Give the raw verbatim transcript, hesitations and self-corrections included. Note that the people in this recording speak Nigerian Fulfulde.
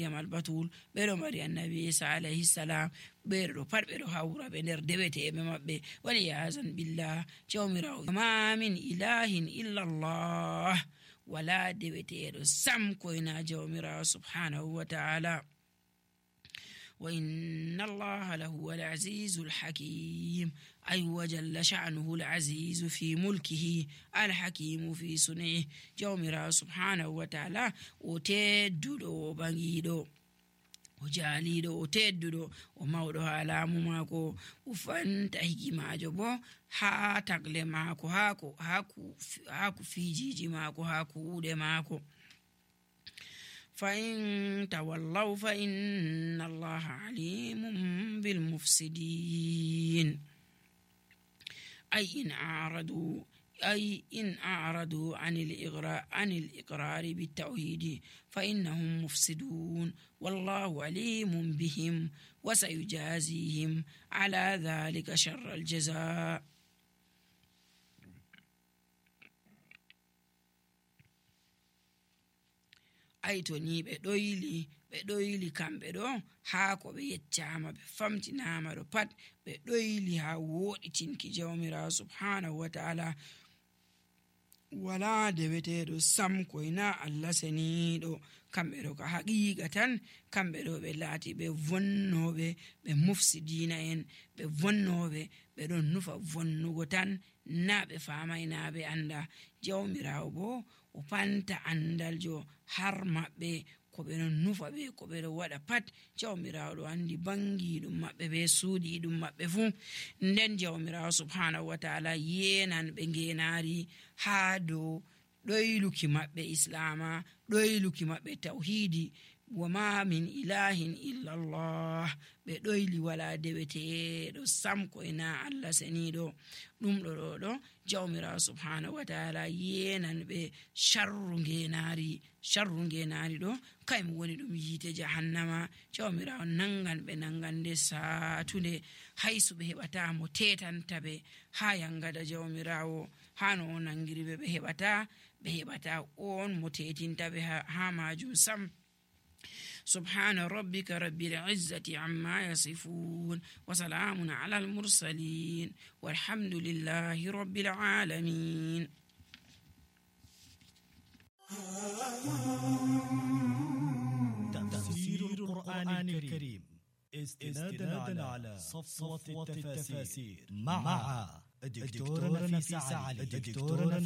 Maryam al-Batul ɓeɗo mari annabi Isa alayhi salam ɓeɗo pat ɓeɗo hawra ɓe nder deweteɓe maɓɓe wali yazan billah jawmirawo ma min ilahin illa Allah wala deweteɗo sam koyna jawmirawo subhanahu wa ta'ala وإن الله لهو العزيز الحكيم أي وجل شأنه العزيز في ملكه الحكيم في صنعه جومرا سبحانه وتعالى وتددو بانجيدو o jaaliɗo o tedduɗo o mawɗo ha laamu maako o fanta hikimajo bo ha tagle maako hako haku fijiji maako ha kuuɗe maako فإن تولوا فإن الله عليم بالمفسدين أي إن أعرضوا أي إن أعرضوا عن الإقرار عن الإقرار بالتوحيد فإنهم مفسدون والله عليم بهم وسيجازيهم على ذلك شر الجزاء. ay to ni ɓe ɗoyli ɓe ɗoyli kamɓe ɗo haa ko ɓe yeccama ɓe famtinama ɗo pat ɓe ɗoyli haa woɗitinki jawmirawo subhanahu wa ta'ala wala deweteɗo sam koyna Allah seniɗo kamɓe ɗo ka haqiqa tan kamɓe ɗo ɓe laati ɓe vonnoɓe ɓe mufsidina en ɓe vonnoɓe ɓe ɗon nufa vonnugo tan na ɓe famayna ɓe anda jawmirawo bo o panta andaljo har maɓɓe ko ɓe ɗon nufa ɓe ko ɓe ɗo waɗa pat jawmirawo ɗo andi bangi ɗum maɓɓe ɓe suuɗi ɗum maɓɓe fuu nden jawmirawo subhanahu wa ta'ala yenan ɓe ngenari haa dow ɗoyluki maɓɓe islama ɗoyluki maɓɓe tawhidi wama min ilahin illa Allah ɓe ɗoyli wala deweteɗo sam koyna Allah seniɗo ɗum ɗo ɗo ɗo jawmirawo subhanahu wa ta'ala yenan ɓe sharru ngenari sharru ngenari ɗo kaymo woni ɗum yiite jahannama jawmirawo nangan ɓe nangande satunde haysu ɓe heɓata mo tetanta ɓe ha yangada jawmirawo hano o nangiri ɓe ɓe heɓata ɓe heɓata on mo tetinta ɓe ha majum sam. سبحان ربك رب العزة عما يصفون وسلام على المرسلين والحمد لله رب العالمين. تفسير القرآن الكريم استنادا على صفوة التفاسير مع الدكتور نفيس علي.